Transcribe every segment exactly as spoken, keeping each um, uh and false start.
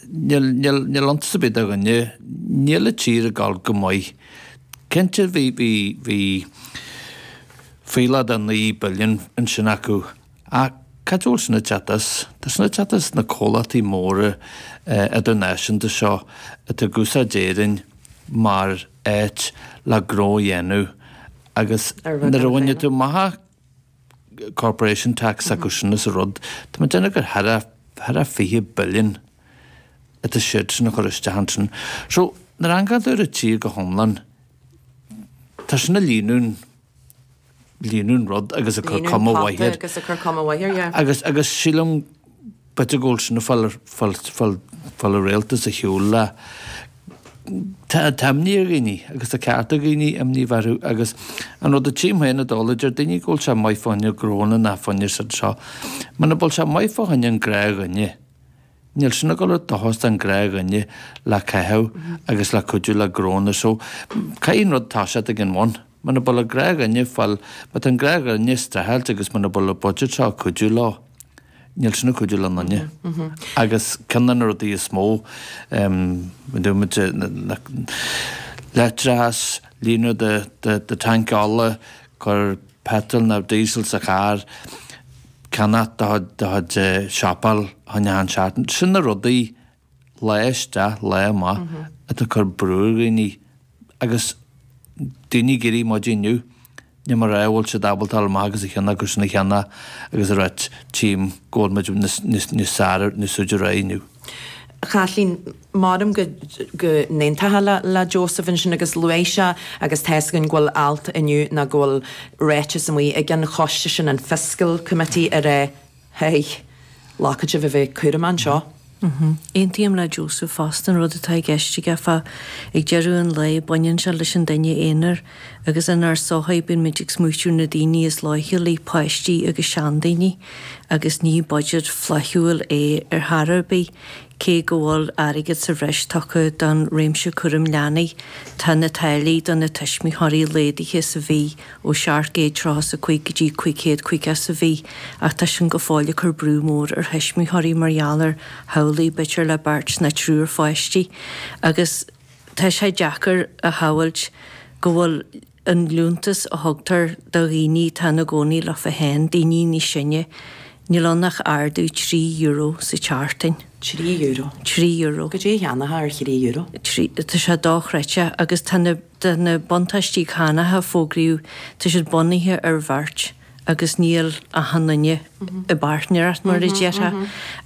Níl níl níl iontas ar bith do dhuine, níl an tír ag dul go maith. Cinnte bhí bhí bhí fuíollach de naoi billiún ansin acu ach cad a bhfuil sin ag teacht as? Tá sin ag teacht as na comhlachtaí móra idirnáisiúnta seo atá ag úsáid Éirinn mar áit le gnó a dhéanamh agus nuair a bhaineann tú amach corporation tax acu sin is a rud, tá mé ag déanamh gur thar a thar a fiche billiún atá siad sin a chur isteach ansin. So nuair a amharcann tú ar an tír go hiomlán, tá sin ag líonadh líonadh an rud agus ag cur cuma mhaith air. Agus ag cur cuma mhaith air, yeah. Agus agus sílim b'fhéidir go bhfuil sin ag fáil fáil fáil fáil an rialtas ar shiúl le Tá tá imní ar dhaoine agus tá ceart ag daoine imní a bheith orthu agus an rud a tchím féin i dtólamh deir daoine go bhfuil sé maith fá choinne gnónna ná fá choinne siad seo. Muna bhfuil sé maith fá choinne an gnáthdhuine, níl sin ag dul ar dóchas don ghnáthdhuine le caitheamh agus le cuidiú le gnónna so caithfidh an rud toiseacht ag an bhun. Muna bhfuil an gnáthdhuine fáil má tá an gnáthdhuine ag streachailt agus muna bhfuil an budget seo ag cuidiú leo, níl sin ag cuidiú le aon duine. Agus ceann de na rudaí is mó, dúirt muid, leictreachas, líonadh do do tanc ola, cur petrol nó diesel sa charr, ceannach do do chuid siopaí chun achan seachtain. Sin na rudaí lá isteach, lá amach atá ag cur brú ar dhaoine agus daoine ag éirí maidin inniu, níl mé ag rá go bhfuil siad ábalta dul amach agus a cheannach agus sin a cheannach agus a ráit tchím go bhfuil muid níos níos níos fearr níos faide ar aghaidh inniu. A Chaitlín, maram go go n-aontófá le le Joseph ansin agus luaigh sé agus tá fhios againn go bhfuil alt inniu nó go bhfuil ráiteas amuigh ag an choiste sin, an Fiscal Committee, a rá hey, caithfidh sibh a bheith cúramach anseo. Aontaím le Joseph fosta an rud atá i gceist aige fá ag deireadh an lae baineann sé leis an duine aonair agus inár sochaí bíonn muid ag smaoitiú na daoine is leochailí, páistí agus seandaoine agus ní budget flaithiúil é ar chor ar bith cé go bhfuil airgead sa bhreis tugtha don réimse cúram leanaí tá na táillí do na tuismitheoirí laghdaithe sa mhí ó seacht gcéad tríocha is a cúig go dtí cúig chéad caoga sa mhí ach tá sin go fóill ag cur brú mór ar thuismitheoirí mar gheall ar theaghlaigh b'fhéidir le beirt nó triúr pháistí agus tá sé deacair a shamhailt go bhfuil an liúntas a thugtar do dhaoine atá ina gcónaí leofa féin, daoine níos sine, níl ann ach ardú trí euro sa tseachtain. Trí euro. Trí euro. Goidé a cheannófá ar thrí euro? Trí, tá sé dochreidte agus tá na, tá na buntáistí cánacha a fógraíodh, tá siad bunaithe ar bheirt agus níl achan duine i bpáirtnéireacht mar a déarfá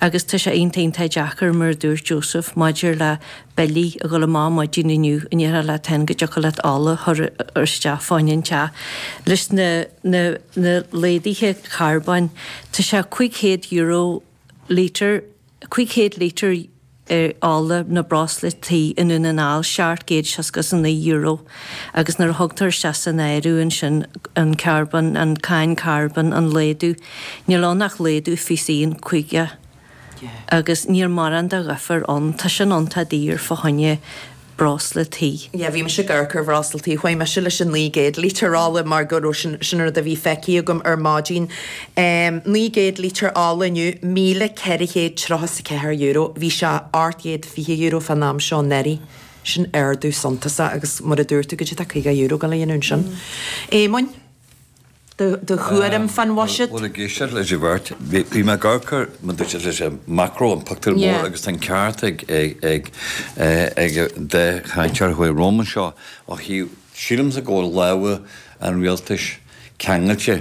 agus tá sé iontach iontach deacair mar a dúirt Joseph maidir le billí a dhul amach maidin inniu an ndéarfá leat féin go dtiocfadh leat ola a chur isteach fá choinne an teach. Leis na na na laghduithe carbóin tá sé cúig chéad euro lítear, cúig chéad lítear ola nó breosla tí i nDún na nGall, seacht gcéad seasca is a naoi euro agus nuair a thugtar isteach san áireamh ansin an carbón, an cáin carbóin, an laghdú, níl ann ach laghdú fiche a haon caoga agus níl mórán de dhifear ann. Tá sin iontach daor fá choinne breosla tí. Yeah, bhí mise ag amharc ar bhreosla tí, chuaigh mise leis an naoi gcéad lítear ola mar go raibh sin, sin an rud a bhí feicthe agam ar maidin. Em, naoi gcéad lítear ola inniu, míle ceithre chéad tríocha is a ceathair euro, bhí sé ocht gcéad fiche euro fán am seo anuraidh. Sin ardú suntasach agus mar a dúirt tú, goidé tá caoga euro ag dul a dhéanamh ansin. Éamoinn? Do thuairim fán bhuiséad? Bhuel, ag éisteacht leis an bheirt, bhí mé ag amharc ar, mar dúirt siad, leis an macro, an pictiúr mór agus tá an ceart ag ag ag an dá chainteoir a chuaigh romham anseo ó thaobh, sílimse go bhfuil lámha an rialtais ceangailte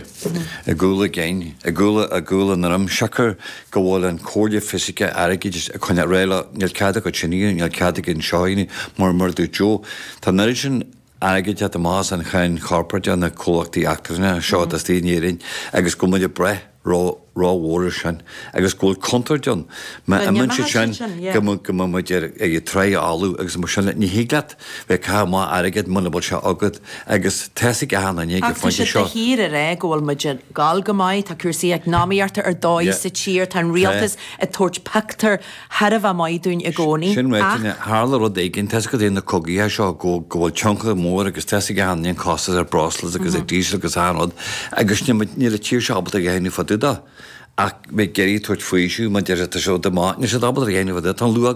i gcúl a gcinn, i gcúl i gcúl a ndroim, siocair go bhfuil an Chomhairle Fhioscach Airgeadais ag coinneáil réidh leo, níl cead agat sin a dhéanamh, níl cead agat seo a dhéanamh, mar mar a dúirt Joe, tá an oiread sin airgid ag teacht amach as an cháin chorparáideach na comhlachtaí eachtrannacha seo atá istigh in Éirinn agus go bhfuil muid ag brath ró-mhór air sin agus go bhfuil contúirt ann má imíonn siad sin go mbeidh muid ar ag tráigh fholamh agus mar sin ní thig leat bheith ag caitheamh amach airgead muna bhfuil sé agat agus tá fhios ag achan duine ag an Ach tá phointe siad de seo. shíor ag rá go bhfuil muid ag gabháil go maith, tá cúrsaí eacnamaíochta ar dóigh sa tír, tá an rialtas ag tabhairt pictiúr thar a bheith maith dúinn i gcónaí. Sin ráite, Ach. tharla rud éigin, tá fhios agat na cogaithe seo go go bhfuil tionchar mór agus tá fhios ag achan duine an costas ar breosla agus ar diesel agus achan rud agus níl muid níl an tír seo ábalta a dhéanamh fá dtaobh de ach bheith ag iarraidh tabhairt faoiseamh mar deir siad tá sé rud maith níl siad ábalta a dhéanamh fá dtaobh tá an luach